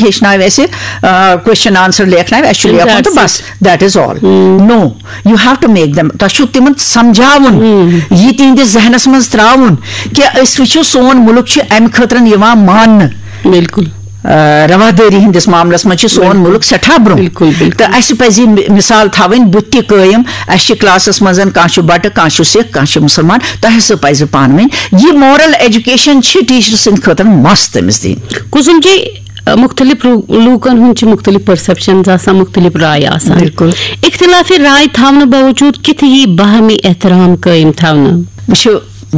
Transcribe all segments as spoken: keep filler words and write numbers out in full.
ہیٚچھناوِ اَسہِ question answer لیکھناوِ، اَسہِ چھُ لیکھُن تہٕ بس، that is all. No, you have to make them. تۄہہِ چھُو تِمن سمجھاوُن، یہِ تِہنٛدِس ذہنس منٛز ترٛاوُن کہِ أسۍ وٕچھِو سون مُلک چھُ اَمہِ خٲطرٕ یِوان ماننہٕ. بالکل. آ، روادٲری ہٕنٛدِس معاملس منٛز چھُ سون مُلک سٮ۪ٹھاہ برٛونٛہہ. بالکل، بالکل. تہٕ اَسہِ پَزِ یہِ مِ- مِثال تھاوٕنۍ، بُتھِ تہِ قٲیِم. اَسہِ چھِ کلاسس منٛز کانٛہہ چھُ بٹہٕ، کانٛہہ چھُ سِکھ، کانٛہہ چھُ مُسلمان، تۄہہِ ہسا پَزِ پانہٕ ؤنۍ یہِ moral education چھِ ٹیٖچرٕ سٕنٛدِ خٲطرٕ must تٔمِس دِنۍ. کُسُم جی، مُختٔلِف لوٗ- لوٗکن ہُنٛد چھِ مُختٔلِف پٔرسیپشنز آسان، مُختٔلِف راے آسان. بالکل. اختلافِ راے تھاونہٕ باوجوٗد کِتھ یی باہمی احترام قٲیِم تھاونہٕ؟ وٕچھِو،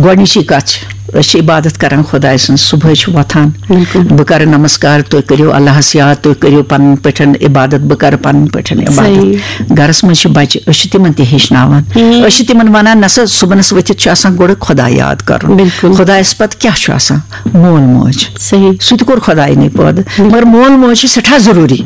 گۄڈٕنِچی کَتھ چھِ، أسۍ چھِ عبادت کران خۄداے سٕنٛز، صُبحٲے چھِ وۄتھان، بالکل. بہٕ کَرٕ نمسکار، تُہۍ کٔرِو اللہس یاد، تُہۍ کٔرِو پَنٕنۍ پٲٹھۍ عبادت، بہٕ کَرٕ پَنٕنۍ پٲٹھۍ عبادت. صحیح. گَرَس منٛز چھِ بَچہِ، أسۍ چھِ تِمَن تہِ ہیٚچھناوان. أسۍ چھِ تِمَن وَنان، نہ سا، صُبحَنَس ؤتھِتھ چھُ آسان گۄڈٕ خۄداے یاد کَرُن. بالکل. خۄدایَس پَتہٕ کیٛاہ چھُ آسان؟ مول موج. صحیح. سُہ تہِ کوٚر خۄداے نٕے پٲدٕ، مگر مول موج چھِ سٮ۪ٹھاہ ضروٗری.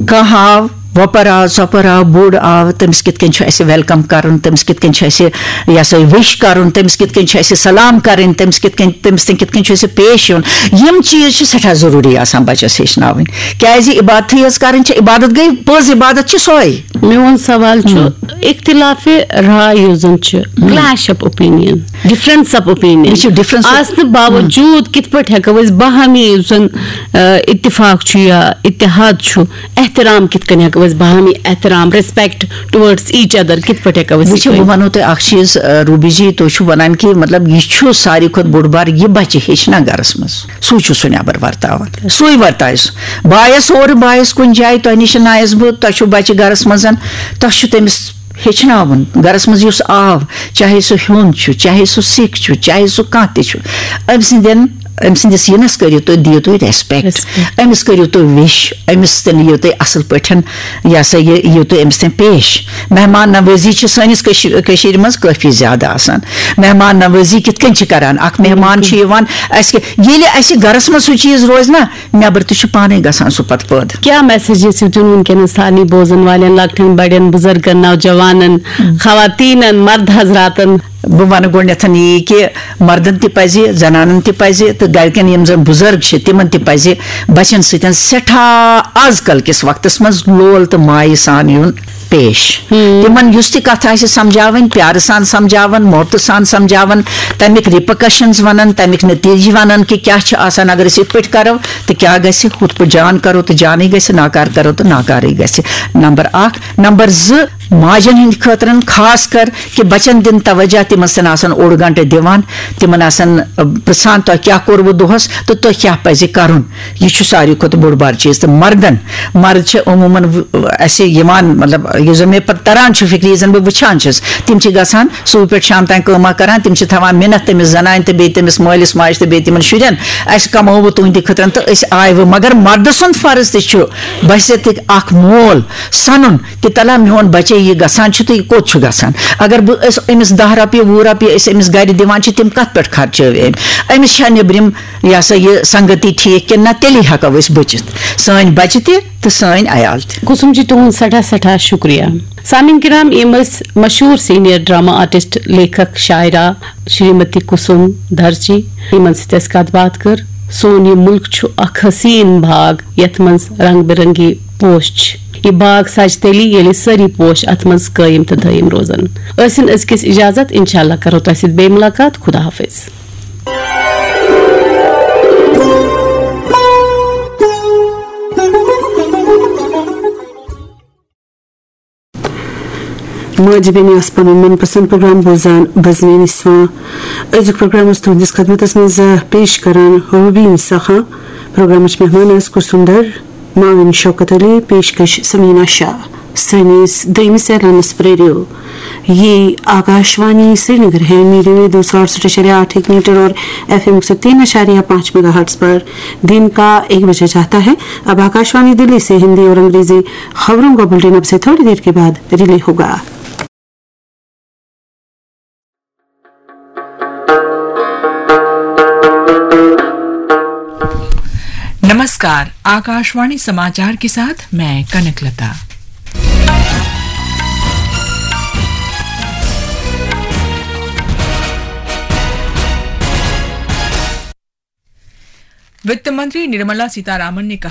کانٛہہ آو، وۄپَر آو، ژۄپَر آو، بوٚڑ آو، تٔمِس کِتھ کٔنۍ چھُ اَسہِ welcome کَرُن، تٔمِس کِتھ کٔنۍ چھُ اَسہِ، یہِ ہسا یہِ، wish کَرُن، تٔمِس کِتھ کٔنۍ چھُ اَسہِ سلام کَرٕنۍ، تٔمِس کِتھ کٔنۍ، تٔمِس سۭتۍ کِتھ کٔنۍ چھُ اَسہِ پیش یُن۔ یِم چیٖز چھِ سٮ۪ٹھاہ ضروٗری آسان بَچَس ہیٚچھناوٕنۍ، کیٛازِ عبادتھٕے یٲژ کَرٕنۍ چھِ، عبادت گٔے، پٔز عبادت چھِ سۄے۔ میون سوال چھُ، اختلاف راے یُس زن چھُ، clash of opinion, difference of opinion, یہِ چھُ difference of- آسنہٕ باوجوٗد کِتھ پٲٹھۍ ہٮ۪کو أسۍ باہمی یُس زن، آ، اتفاق چھُ یا اتحاد چھُ، احترام کِتھ کٔنۍ ہٮ۪کو أسۍ باہمی احترام, respect towards each other کِتھ پٲٹھۍ ہٮ۪کو أسۍ یہِ وٕچھِو، بہٕ کٔرِتھ؟ وَنو تۄہہِ اَکھ چیٖز، آ، روٗبی جی، تُہۍ چھِو وَنان کہِ مطلب یہِ چھُ ساروی کھۄتہٕ بوٚڑ بار، یہِ بَچہِ ہیٚچھِ نا گَرَس منٛز، سُے چھُ سُہ نٮ۪بَر وَرتاوان، سُے وَرتایہِ سُہ۔ بہٕ آیَس اورٕ، بہٕ آیَس کُنہِ جایہِ، تۄہہِ نِش نہ آیَس بہٕ، تۄہہِ چھُو بَچہِ گَرَس منٛز، تۄہہِ چھُ تٔمِس ہیٚچھناوُن۔ گَرَس منٛز یُس آو، چاہے سُہ ہیوٚنٛد چھُ، چاہے سُہ سِکھ چھُ، چاہے سُہ کانٛہہ تہِ چھُ، أمۍ سٕنٛدٮ۪ن، أمۍ سٕنٛدِس یِنَس کٔرِو تُہۍ، دِیِو تُہۍ respect۔ أمِس کٔرِو تُہۍ wish، أمِس تہِ نِیِو تُہۍ اَصٕل پٲٹھۍ، یہِ ہسا یہِ، یِیِو تُہۍ أمِس تام پیش۔ مہمان نوٲزی چھِ سٲنِس کٔشی-، کٔشیٖرِ منٛز کٲفی زیادٕ آسان۔ مہمان نوٲزی کِتھ کٔنۍ چھِ کَران؟ اَکھ مہمان چھُ یِوان، اَسہِ کہِ-، ییٚلہِ اَسہِ گَرَس منٛز سُہ چیٖز روزِ نا، نٮ۪بر تہِ چھُ پانے گژھان سُہ پتہٕ پٲدٕ۔ کیٛاہ message یژھِو تُہۍ وٕنکیٚنَس سارنٕے بوزن والٮ۪ن، لۄکٹٮ۪ن بڑٮ۪ن، بزرگن، نوجوانن، خواتینن، مرد حضراتن؟ بہٕ وَنہٕ گۄڈٕنٮ۪تھ یی کہِ مردن تہِ پزِ، زنانن تہِ پزِ تہٕ گرِکٮ۪ن یِم زن بزرگ چھِ تِمن تہِ پزِ بچن سۭتۍ سٮ۪ٹھاہ آز کل کِس وقتس منٛز لول تہٕ مایہِ سان یُن پیش۔ تِمن یُس تہِ کتھ آسہِ سمجھاوٕنۍ، پیارٕ سان سمجھاوان، محبتہٕ سان سمجھاوان، تمیُک repercussions ونان، تمیُک نتیجہٕ ونان کہِ کیٛاہ چھُ آسان اگر أسۍ یِتھ پٲٹھۍ کرو تہٕ کیٛاہ گژھِ، ہُتھ پٲٹھۍ جان کرو تہٕ جانٕے گژھِ، ناکار کرو تہٕ ناکارٕے گژھِ۔ نمبر اکھ۔ نمبر زٕ، ماجن ہٕنٛدِ خٲطرٕ خاص کر کہِ بچن دِن توجہ، تِمن سۭتۍ آسان اوٚڑ گنٹہٕ دِوان، تِمن آسان، ٲ، پرژھان، تۄہہِ کیٛاہ کوٚروٕ دۄہس تہٕ تۄہہِ کیٛاہ پزِ کرُن۔ یہِ چھُ ساروی کھۄتہٕ بوٚڑ بار چیٖز۔ تہٕ مردن، مرد چھِ عموٗماً و-، اَسہِ یِوان، مطلب، یُس زَن مےٚ پَتہٕ تَران چھُ فِکرِ، یُس زَن بہٕ وٕچھان چھُس، تِم چھِ گژھان صُبح پٮ۪ٹھ شام تام کٲمہ کَران، تِم چھِ تھاوان مِنَت تٔمِس زَنانہِ تہٕ بیٚیہِ تٔمِس مٲلِس ماجہِ تہٕ بیٚیہِ تِمَن شُرٮ۪ن، "اَسہِ کَمووُ تُہٕنٛدِ خٲطرٕ تہٕ أسۍ آیہِ وۄنۍ۔" مگر مردٕ سُنٛد فرض تہِ چھُ بحیثیت اَکھ مول سَنُن کہِ تَلہ میون بَچے یہِ گژھان چھُ تہٕ یہِ کوٚت چھُ گژھان؟ اگر بہٕ أسۍ أمِس دَہ رۄپیہِ، وُہ رۄپیہِ أسۍ أمِس گَرِ دِوان چھِ، تِم کَتھ پٮ۪ٹھ خرچٲو أمۍ؟ أمِس چھا نیٚبرِم یہِ ہسا یہِ سنگتی ٹھیٖک کِنہٕ نہ، تیٚلی ہٮ۪کو أسۍ بٔچِتھ، سٲنۍ بچہِ تہِ تہٕ سٲنۍ عیال تہِ۔ کُسُم جی، تُہُنٛد سٮ۪ٹھاہ سٮ۪ٹھاہ شُکریہ۔ سامعیٖن کرام، یِم ٲسۍ مشہوٗر senior drama artist، لیکھک، شاعرہ Shrimati Kusum دھر جی، یِمن سۭتۍ اَسہِ کتھ باتھ کٔر۔ سون یہِ مُلک چھُ اکھ حسیٖن باغ، یتھ منٛز رنگ برنگی پوش چھِ۔ یہِ باغ سجہِ تیٚلی، ییٚلہِ سٲری پوش اتھ منٛز قٲیِم تہٕ دٲیِم روزن۔ ٲسِن أزکِس اجازت، انشاءاللہ کرو تۄہہِ سۭتۍ بیٚیہِ مُلاقات۔ خدا حافظ۔ ماجہِ بیٚنہِ آسہٕ پنُن من پسند پروگرام بوزان، بزمِ نسواں۔ أزیُک پروگرام اوس تُہنٛدِس خدمتس منٛز پیش کران روبی نسا خان۔ پروگرامٕچ مہمان ٲس کُلثوم دھر، معاون شوکت علی، پیشکش سمیٖنا شاہ۔ سٲنِس دوٚیمِس اعلانس پرٛٲرِو۔ یہ آکاشوانی سرینگر ہے، میڈیم ویو دو سو اڑسٹھ اعشاریہ آٹھ ایک میٹر اور ایف ایم ایک سو تین اعشاریہ پانچ میگا ہرٹز پر دن کا ایک بجے چاہتا ہے۔ اب آکاشوانی دلی سے ہندی اور انگریزی خبروں کا بلٹن اب سے تھوڑی دیر کے بعد ریلے ہوگا۔ नमस्कार, आकाशवाणी समाचार के साथ मैं कनक लता। वित्त मंत्री निर्मला सीतारामन ने कहा